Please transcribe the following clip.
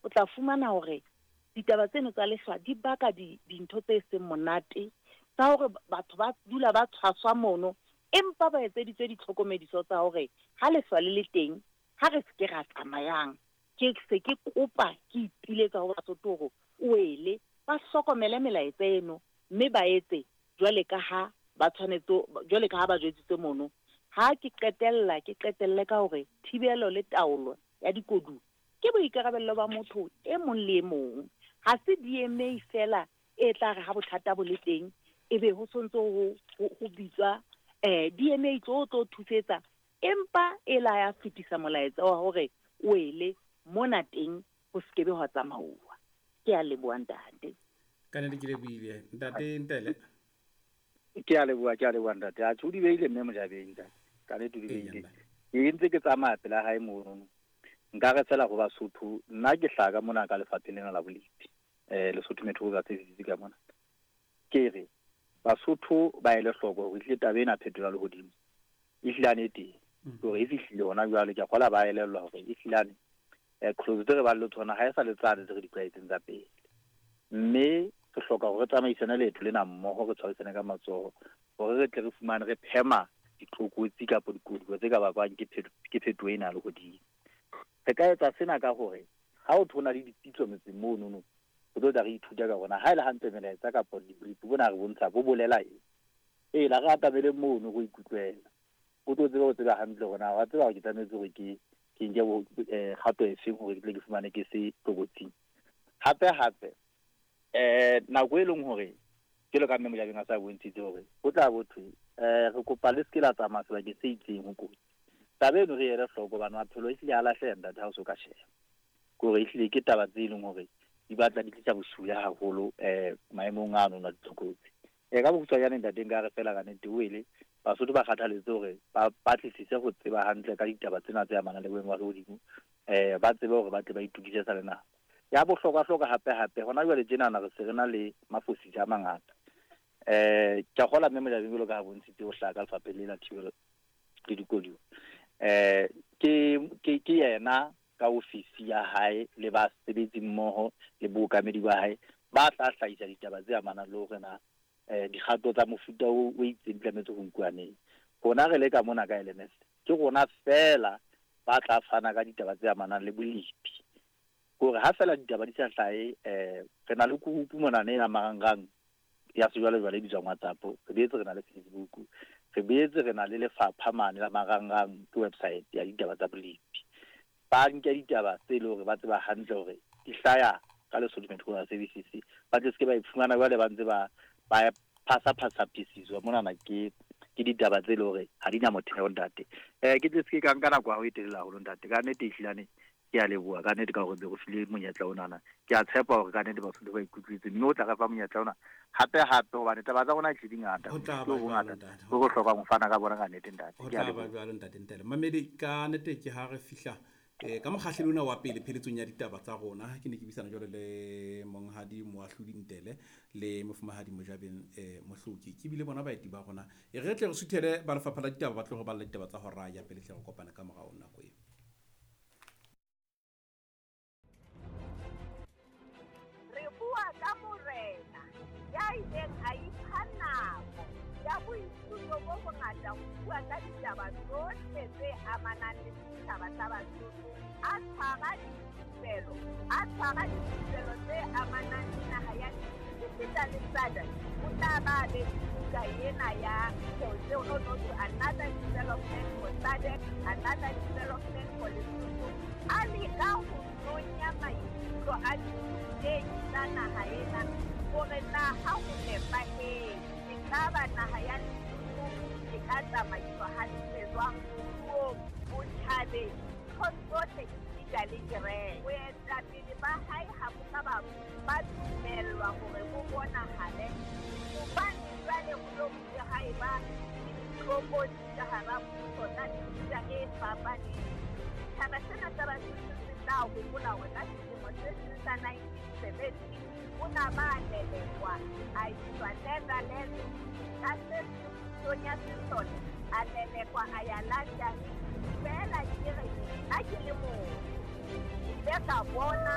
O tla fumana hore ditaba tseno tsa lehlwa di baka dintho tse seng monate tsa hore batho ba dula ba tshwaswa mono, empa ba etseditswe ditlhokomediso tsa hore ha lehlwa le le teng ha re se ke ra tsamayang. Ke se ke kopa ke ipiletsa ho Basotho hore o ele ba hlokomele melaetsa eno mme ba etse jwale ka ha ba tshwanetse, jwale ka ha ba jwetsitse mono. Ha ke qetella, ke qetelle ka hore thibelo le taolo ya dikoduwa ke boikarabello ba motho e mong le e mong. Ha se DMA fela e tla re ha bothata bo le teng ebe ho sontso ho bitswa DMA tlo thusetsa, empa e la ya fetisa molaetsa wa hore o ele mona teng ho sekebe hwa tsamauwa. Ke a leboha ntate. Ka nnete ke lebohile ntate Ntele. Ke a leboha ntate. A tjho di beile mme Mojabeng ntate. Ka nnete di beile. Ke ntse ke tsamaya pela hae mono. Nka re fela ho Basotho, nna ke hlaha ka mona ka lefapheng lena la bolepi. Lesotho Metro Services ka mona. Ke re Basotho ba ele hloko hore ehlile taba ena phetola lehodimo. Ehlile e teng. Hore e fihlile hona jwale ke a kgola ba elellwa hore ehlile clause tse re bang le tsona ha e sa le tsane tse re di tlwaetseng tsa pele. Mme re hloka hore re tsamaisane leeto lena mmoho, re tshwarisane ka matsoho hore re tle re fumane re phema ditlokotsi kapa dikoduwa tse ka bakwang ke phetoho ena ya lehodimo. Re ka etsa sena ka hore ha ho thona le dipitso metseng monono, re tlo tla re ithuta ka rona. Ha e le hantle melaetsa kapa dibrief bona re bontsha bo bolela eng. Ee, la re atamele mono go ikutlwela. O tlo tseba ho tseba hantle hore na wa tseba hore ke tlametse hore ke nke kgato efeng hore ke tle ke fumane ke se tlokotsing. Hape hape nako e leng hore jwalo ka mme Mojabeng a sa bontshitse hore ho tla bo thwe re kopa le se ke la tsamaya sebakeng se itseng ho kotsi. Taba eno re ele hloko hobane maphelo ehlile a lahleha ntate ha o so ka sheba. Ke hore ehlile ke taba tse leng hore di batla di tlisa bosula haholo maemong ano a ditlokotsi. Ka bokgutshwanyane ntate nka re fela ka nnete o ele Basotho ba kgathaletse hore ba batlisise ho tseba hantle ka ditaba tsena tse amanang le boemo ba lehodimo, ba tsebe hore ba tle ba itokise sa le nako. Ya bohlokwa-hlokwa hape-hape hona jwale tjenana re se re na le mafosisa a mangata. Ke a kgola mme Mojabeng jwalo ka ha bontshitse ho hlaha ka lefapheng le la thibelo le dikoduwa. Ke yena ka ofisi ya hae le basebetsi mmoho le bookamedi ba hae ba tla hlahisa ditaba tse amanang le hore na dikgato tsa mofuta o itseng di tlametse ho nkuwa neng. Rona re le ka mona ka LMS ke rona fela ba tla fana ka ditaba tse amanang le bolepi. Hore ha fela ditaba di sa hlahe, re na le group mona ne ya marangrang ya sejwalejwale e bitswang WhatsApp, re boetse re na le Facebook, re boetse re na le lefapha mane la marangrang ke website ya ditaba tsa bolepi. Ba nke ditaba tse leng hore ba tseba hantle hore di hlaya ka Lesotho Metro Services, ba tle se ke ba iphumana jwale ba ntse ba phasa-phasa monana ke ditaba tse leng hore ha di na motheo ntate. Ke tle se ke ka nka nako ya ho e telele haholo ntate. Ka nnete ehlilane ke a leboha ka nnete ka hore be re file monyetla onana. Ke a tshepa hore ka nnete Basotho ba ikutlwetse mme o tla re fa monyetla ona hape hape hobane taba tsa rona ehlile di ngata. Ho tla ba jwalo ntate. Ho hlokang ho fana ka bona ka nnete ntate. Ho tla ba jwalo ntate Ntele. Mamedi ka nnete ke ha re fihla ka mokgahlelo ona wa pele pheletsong ya ditaba tsa rona, ke ne ke buisana jwalo le monghadi Moahlodi Ntele le mofumahadi Mojabeng Mohloki. Ke bile bona baeti ba rona. E re tle re suthele ba lefapha la ditaba ba tlo re balla ditaba tsa hora ya pele tle re kopane ka morao nako eo. Re bua ka morena ya ileng a ipha nako ya boithuto bo bongata ho bua ka ditaba tsohle tse amanang le setjhaba sa Basotho. A tshwara dithupelo tse amanang le naha ya esita le SADC. O tla ba be buka ena ya another development for SADC, another development for Lesotho. A leka ho nonya maikutlo a ditei tsa naha ena hore na ha ho nepahetse ekaba naha ya Lesotho e ka tsamaiswa hantle jwang moruong, botjhabeng, ntho tsohle esita le kereke. Boetapele ba hae ha bo ka ba dumellwa hore bo bonahale hobane jwale ho lo bile ha eba le ditlokotsi ka hara puso tsa mefuta e fapaneng. Setjhaba sena sa Basotho se tla hopola hore ka selemo se seng sa 1970 o na ba lelekwa a iswa Netherlands ka se pusong ya sesole, a lelekwa a ya London. Feela ke re nna ke le motho ke ile ka bona